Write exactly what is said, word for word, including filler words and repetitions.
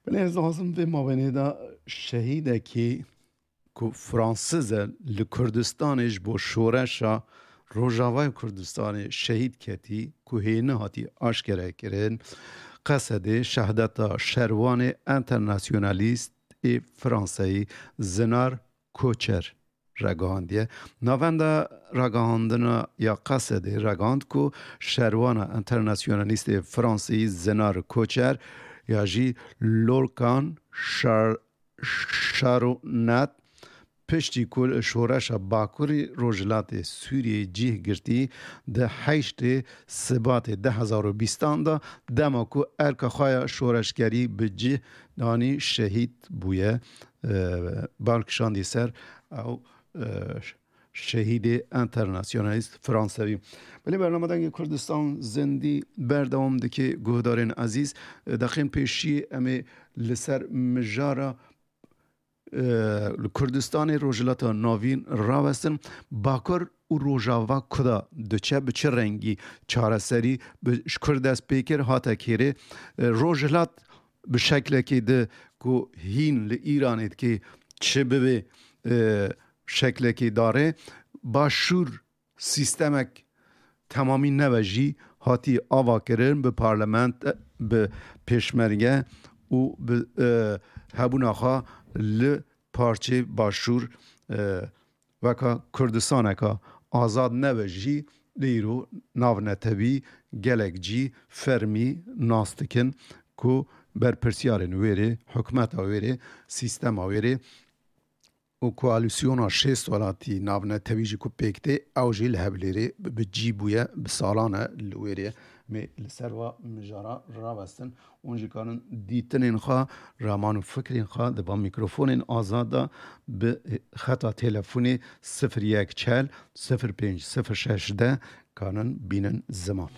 Belê, ez dixwazim vê mawenê de şehîdekî ku Fransiz e, li Kurdistanê ji bo şoreşa Rojavayê Kurdistanê şehîd ketî, ku hê nehatî aşkere kirin, Qesedê şehdeta şerwanê enternasyonalîst ê Fransayî Zinar Koçer ragihandiye. Navenda ragihandina ya Qesedê ragihand ku şerwana enternasyonalîstê Fransî Zinar Koçer ya jî Lorcan Char-, Charbonnier, piştî ku li şoreşa Bakurî Rojhilatê Sûriyê cih girtî, di heştê Sibatê du hezar û bîstan de, dema ku erka xwe ya şoreşgerî bi cih danî, şehîd bûye. E, bal kişandî ser ew, e, şehîdê enternasyonalîst Fransewî. Belê, bername Dengê Kurdistan zindî berdewam dike, guhdarên ezîz. E, deqên pêşî em ê li ser mijara, e, li Kurdistanê Rojhilata Navîn rawestin. Bakur û Rojava kuda diçe, bi çi rengî çareserî bi, ji Kurd dest pê kir, hate kêrê. E, Rojhilat bi şeklekê di ku hîn li Îranê dikê çi bibe, e, şeklekê dare. Başûr sîstemek temamî neve jî hatî avakirin bi parlament, bi pêşmerge û bi, e, hebûna xwe li parçê Başûr, e, weka Kurdistaneka azad nebe jî, lê îro navnetewî gelek cî fermî nas dikin ku berpirsiyarên wêrê, hikûmeta wêrê, sîstema wêrê û koalîsyona şêst welatî navnetewî jî ku pêk tê, ew jî li Hewlêrê bi, bi cî bûye, bi salan e li wêrê. Em ê li ser va mijara rawestin. Hûn jî kanin dîtinên xwe, raman û fikrên xwe di van mîkrofonên azad de bi xeta telefonê sifir yek çel sifir pênc sifir şeş de kanin bînin ziman.